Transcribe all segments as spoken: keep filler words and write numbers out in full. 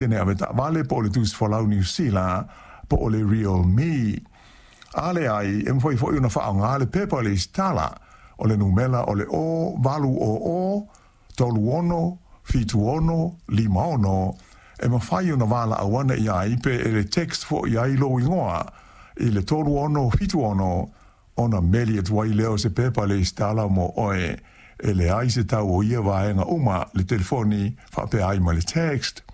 Ene avetaavale po o le tusi folau Niu Sila po o le RealMe. A leai, e mafai foi ona faaaoga le pepa lesitala, o le numera o le o valu o o, tolu ono, fitu ono, lima ono, e mafai ona valaau ane i ai pe e le text foi i ai lou igoa i le tolu ono fitu ono, ona meli atu ai lea o se pepa lesitala mo oe. E leai se tau o ia vaega uma, le telefoni faapea ai ma le text.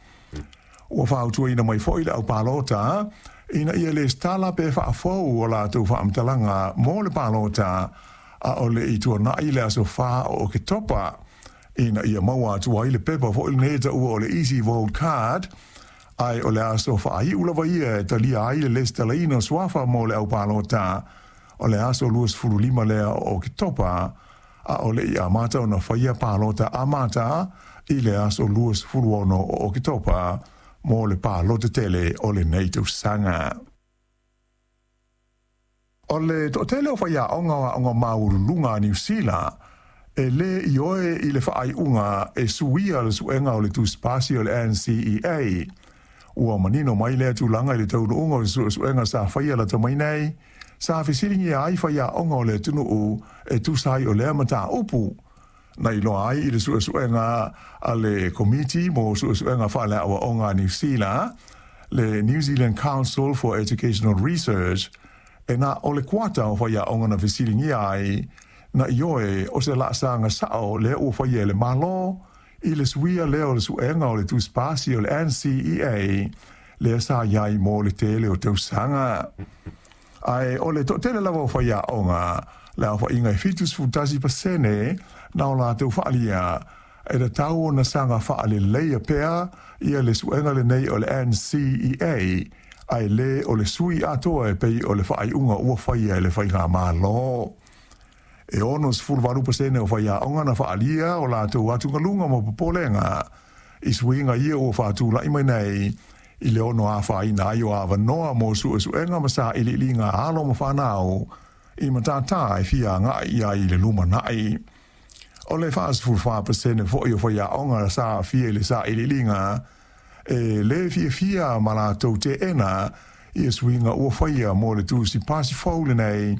Ua fautuaina mai foi le au palota ina ia lesitala pe faafou o latou faamatalaga mo le palota a o le i tuanai le aso fa o Oketopa, ina ia maua atu ai le pepa foi lenei e taua o le Easy Vote Card, ae o le aso faaiu lava ia e talia ai le lesitalaina o suafa mo le au palota o le aso luasefulu lima lea o Oketopa, a o le i amata ona faia palota amata i le aso luasefulu ono o Oketopa mo le palota tele o lenei tausaga. O le toatele o faiaoga o aoga maualuluga a Niu Sila e lē ioe i le faaiuga e suia le suega o le tusipasi o le N C E A. Ua manino mai lea tulaga i le taunuuga o le suesuega sa faia lata mai nei, sa fesiligia ai faiaoga o le atunuu e tusa ai o lea mataupu. Na iloa ai i le suesuega a le Komiti mo Suesuega Faaleaoaoga a Niu Sila, le New Zealand Council for Educational Research, e na o le kuata o faiaoga na fesiligia ai, na ioe o se laasaga sao lea ua faia e le Malo i le suia lea o le suega o le tusipasi o le N C E A lea sa i ai mo le tele o tausaga. Ae o le toatele lava o faiaoga, le aofaiga e fitu sefulu tasi pasene na o latou faalia, e tatau ona saga faaleleia pea ia le suega lenei o le N C E A, ae lē o le sui atoa e pei o le faaiuga ua faia e le faigamalo. E ono sefulu valu pasene o faiaoga na faalia o latou atugaluga ma popolega i suiga ia ua faatulai mai nei i le ono afaina ai o avanoa mo suesuega ma sailiiliga alo ma fanau i matatā e fia agai i ai i le lumanai. O le fasefulu fa pasene foi o faiaoga sa aafia i le sailiiliga e lē fiafia ma latou teena ia suiga ua faia mo le tusipasi fou lenei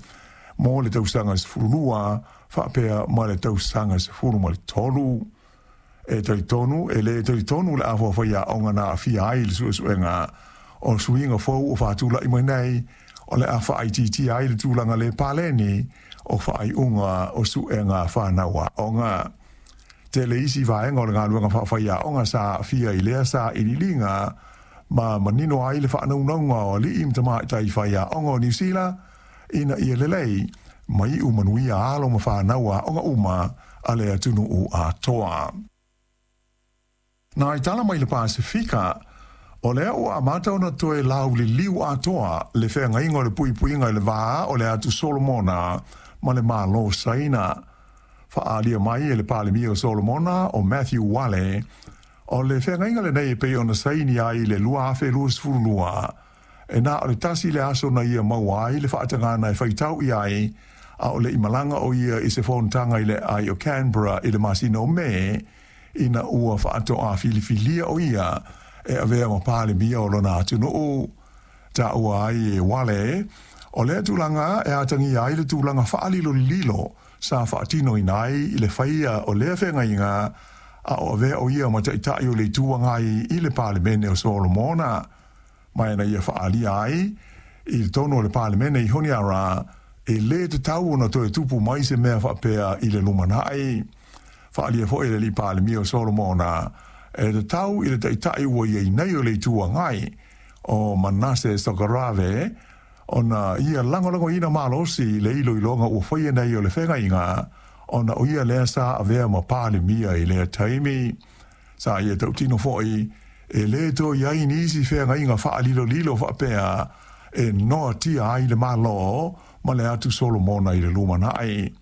mo le tausaga sefulu lua faapea ma le tausaga sefulu ma le tolu. E talitonu e lē talitonu le afa o faiaoga na aafia ai i le suesuega o suiga fou o faatulai mai nei o le a faaitiitia ai le tulaga lē paleni o faaiuga o suega fanau aoga. Tele isi vaega o le galuega faafaiaoga sa aafia i lea sailiiliga ma manino ai le faanaunauga o alii ma tamaitai faiaoga o Niu Sila ina ia lelei ma iu manuia alo ma fanau aoga uma a le atunuu atoa. Na i tala mai le Pasifika, o lea ua amata ona toe lauliliu atoa le feagaiga o le puipuiga i le va o le atu Solomona ma le Malo Saina. Faaalia mai e le Palemia o Solomona o Matthew Wale, o le feagaiga lenei e pei ona saini ai i le lua afe luasefulu lua, e na o le tasi le aso na ia maua ai le faatagana e faitau i ai, a o le i malaga o ia i se fonotaga i le aai o Canberra i le masina o Me, ina ua faatoa filifilia o ia e avea ma Palemia o lona atunuu. Taua ai e Wale, o lea tulaga e atagia ai le tulaga faalilolilo sa faatinoina ai i le faia o lea feagaiga, a o avea o ia ma taitai o le Itu Agai i le Palemene o Solomona. Ma ina ia faaalia ai i totonu o le Palemene i Honiara, e lē tatau ona toe tupu mai se mea faapea i le lumanai. Faaalia foi e le alii Palemia o Solomona, e tatau i le taitai ua i ai nei o le Itu Agai o Manase Sokarave ona ia lagolagoina malosi le iloiloga ua faia nei o le feagaiga, ona o ia lea sa avea ma Palemia i lea taimi. Sa ia tautino foi e lē toe i ai nisi feagaiga faalilolilo faapea e noatia ai le Malo ma le atu Solomona i le lumanai.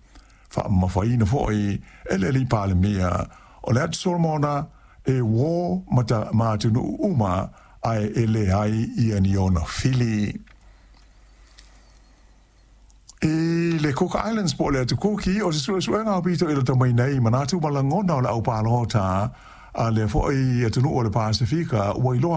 Faamamafaina foi e le alii Palemia o le atu Solomona e uō ma ta ma atunuu uma ae e leai ia ni ona fili. I le Cook Islands po o le atu Kuki, o se suesuega aupito i lata mai nei manatu ma lagona o le au palota a lea foi atunuu o le Pasifika ua iloa